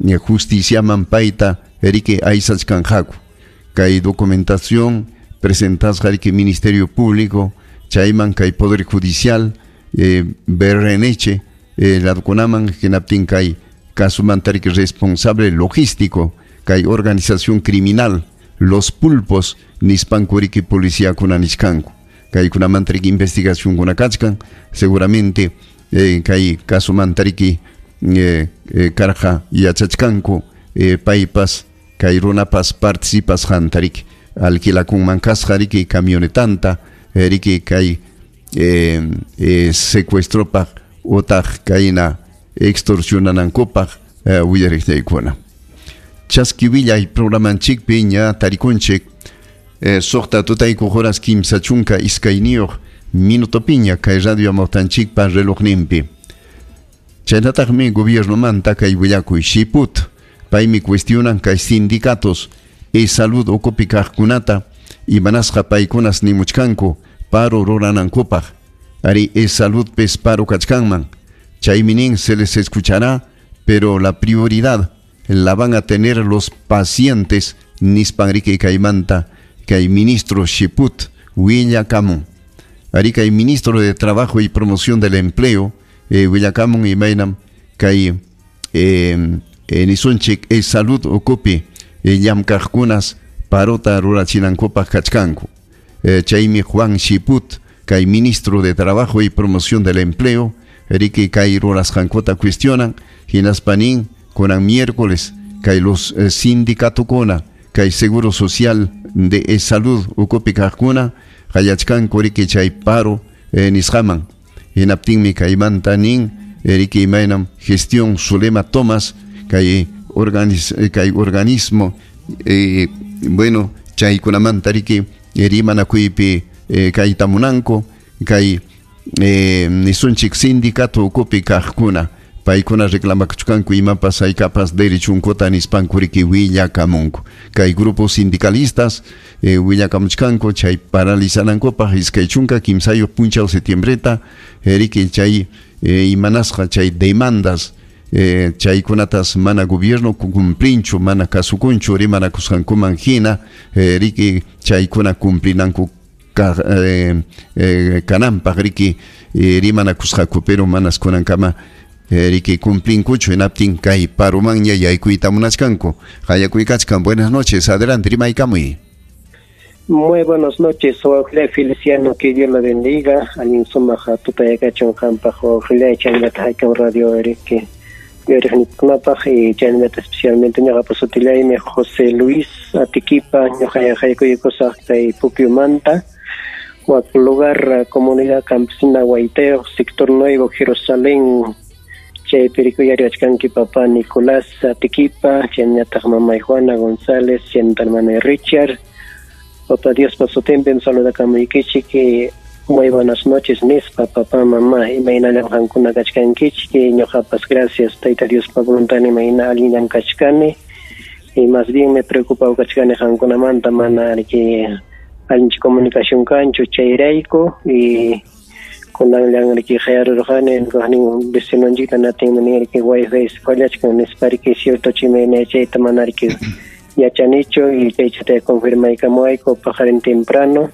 Justiciaman payta riki aysachkanqaku. Kay documentación presentasqa riki Ministerio Público chayman kay Poder Judicial BRNH ladukunaman hinaptin kay kasumanta riki responsable logístico kay organización criminal Los Pulpos nispanku riki policiakuna nichkanku. Kaykunamanta riki investigacionkuna kachkan seguramente kay kasumanta riki karqa yachachkanku paypas kay runapas participasqanta riki alquilakunman kasqa riki camionetanta riki kay secuestropaq utaq kayna extorsionanankupaq willariqllaykuna. Chaski willay programanchikpi ña tarikunchik suqta tutaykuq horas 32 minutopiña kay radio amawtanchikpa relojninpi. Chaynataqmi gobiernomanta kay willakuy Shiput paymi cuestionan kay sindicatos EsSalud ukupi kaqkunata imanasqa paykunas nimuchkanku paro ruranankupaq. Ari EsSaludpis paro kachkanman. Chaymi nin se les escuchará, pero la prioridad la van a tener los pacientes nispan riki kaymanta kay ministro Shiput willakamun. Ari kay ministro de Trabajo y Promoción del Empleo willakamun imaynam kay nisunchik EsSalud ukupi llamkaqkunas parota rurachinankupaq kachkanku. Chaymi Juan Shiput kay ministro de Trabajo y Promoción del Empleo riki kay rurasqankuta cuestionan hinaspa nin kunan miércoles kay los sindicatokuna kay Seguro Social de EsSalud ukupi kaqkuna qayachkanku riki chay paro nisqaman. Hinaptinmi kaymanta nin riki imaynam gestión Zulema Thomas kay kay organismo bueno chaykunamanta riki rimanakuypi kaytamunanku kay nisunchik sindicato ukupi kaqkuna paykuna reclamakuchkanku imapas haykapas derechunkuta nispanku riki willakamunku. Kay grupos sindicalistas willakamuchkanku chay paralizanankupaq 23 punchaw septiembreta riki chay imanasqa chay demandas chaykunatas mana gobierno cumplinchu mana kasukunchu rimanakusqankuman hina riki chaykuna cumplinanku kananpaq riki rimanakusqaku pero manas kunankama riki cumplinkuchu hinaptin kay parumanña yaykuyta munachkanku. Qayakuykachkan. Buenas noches, adelante, rimaykamuy. Muy buenas noches, Wawqillay Feliciano, que Dios lo bendiga. Allin sumaq tutayakachun qampaq wawqillay chaynata haykam radio riki yuriqnikunapaq y chaynata especialmente ñuqapa sutillaymi José Luis Atiquipa, ñuqa haykuykusaq kay Pukyumanta, wak lugar comunidad campesina Guaiteo, sector Nuevo Jerusalén. Chaypi rikuyariwachkanki papá Nicolás Atiquipa, chaynataq mamay Juana González, chaynata hermano Richard. Papá Diospa sutinpim saludakamuykichik. Muy buenas noches nispa papá, mamá, imaynallam qankuna kachkankichik. Ñuqapas gracias Tayta Diospa voluntad imayna allinllam kachkani. Y más bien me preocupado kachkani qankunamanta mana riki allincha comunicación kanchu chayrayku y kunanllan riki qayarurqani kaqnin vecinonchikta natinmi nin riki wifi fallachkan nispa riki cierto chimayna chayta mana riki yachanichu y chaychata confirmaykamuwayku paqarin temprano.